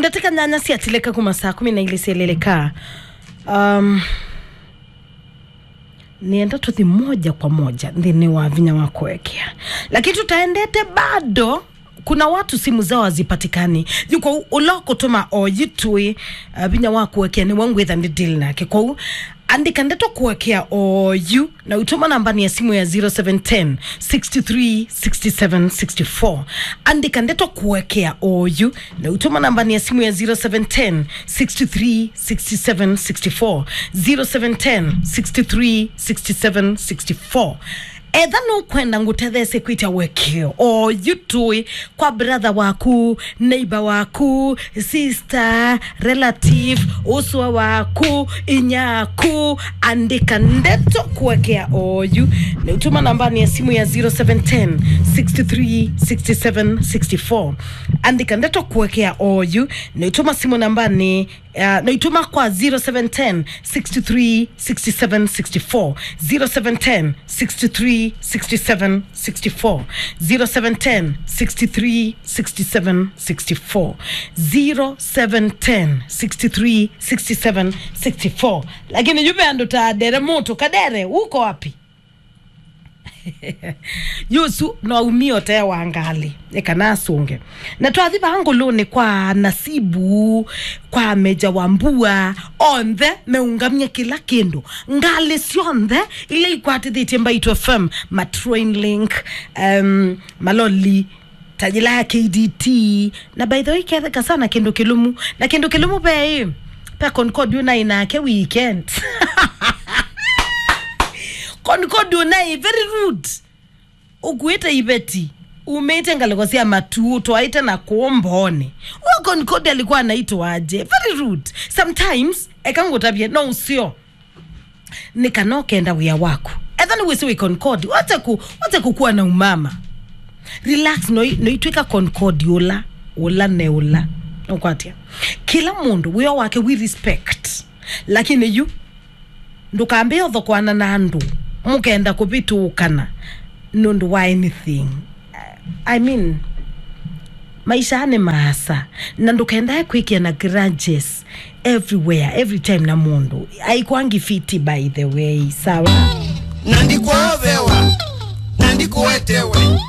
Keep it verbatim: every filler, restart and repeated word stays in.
Ndatĩka nyanya syatilĩka kuma saa kumi na ilĩ syeleleka. Um, nĩenda tũthi moja kwa moja nthĩnĩ wa vinya wa kũekea, lakini tũtaendete bado. Kuna watu simu zao hazipatikani. Yu kwoou ũla ũkũtũma oyu tũĩ, uh, vinya wa kũekea nĩwe ngwĩtha nĩ deal nake. Kwoou andĩka ndeto kũekea oyu na ũitũma nambani ya simu ya zero seven ten, six three, six seven, six four. Andĩka ndeto kũekea oyu na ũitũma nambani ya simu ya zero seven ten, six three, six seven, six four. Zero seven ten, six three, six seven, six four. Etha nũkwenda ngũtetheesye kwĩtya ũekeo oyu tũĩ kwa brother waku, neighbor waku, sister, relative, ũsũa waku, inyaku, andĩka ndeto kũekea oyu. Nĩũtũma nambani ya simu ya zero seven ten, six three, six seven, six four. Andĩka ndeto kũekea oyu. Nĩũtũma simu nambani, uh, nĩũtũma kwa zero seven ten, six three, six seven, six four. Zero seven ten, six three, six seven, six four. Zero seven ten, six three, six seven, six four. Zero seven ten, six three, six seven, six four. Lakini yu ve andũ ta Dere Mũtũ. Kadere, uko wapi? Yusu no aumie ũtee wa ngalĩ, eka nasũnge. Na twathi vaa ngũlũnĩ kwa Nasibu, kwa Meja wa Mbua, onthe meũngamie kĩla kĩndũ. Ngalĩ syonthe ila ikwatĩthĩtye Mbaitũ F M, ma Train Link, em, maloli, ta yĩla ya K D T. Na by the way, ketheka sana kĩndũ kĩlũmu. Na kĩndũ kĩlũmu ve ĩ, pe Concord ũnaĩ nake weekend. Concord ũnaĩ, very rude. Ũkuĩte iveti, umĩte ngalĩko sya matu, ũtwaĩte na kũũ mboonĩ. Huyo Concord alikuwa anaitwa aje? Very rude. Sometimes, eka ngũtavye, no ũseo. Nĩ kana ũkenda wĩa waku. Etha nĩ wĩsĩ wĩ Concord, wache ku, wache kũkuwa na umama. Relax, no, no itwĩka Concord ũla, ũla ne ũla. Nũkwatya? Kĩla mũndũ, wĩa wake, we respect. Lakini yu, ndũkambĩe ũthokoana na andũ, mũkenda kũvĩtũkana nũndũ wa anything. I mean, maisha nĩ maasa, na ndũkendae kwĩkĩa na grudges everywhere, every time na mũndũ. Aikwangi fiti, by the way, sawa? Na ndikwovewa, na ndikũetewe.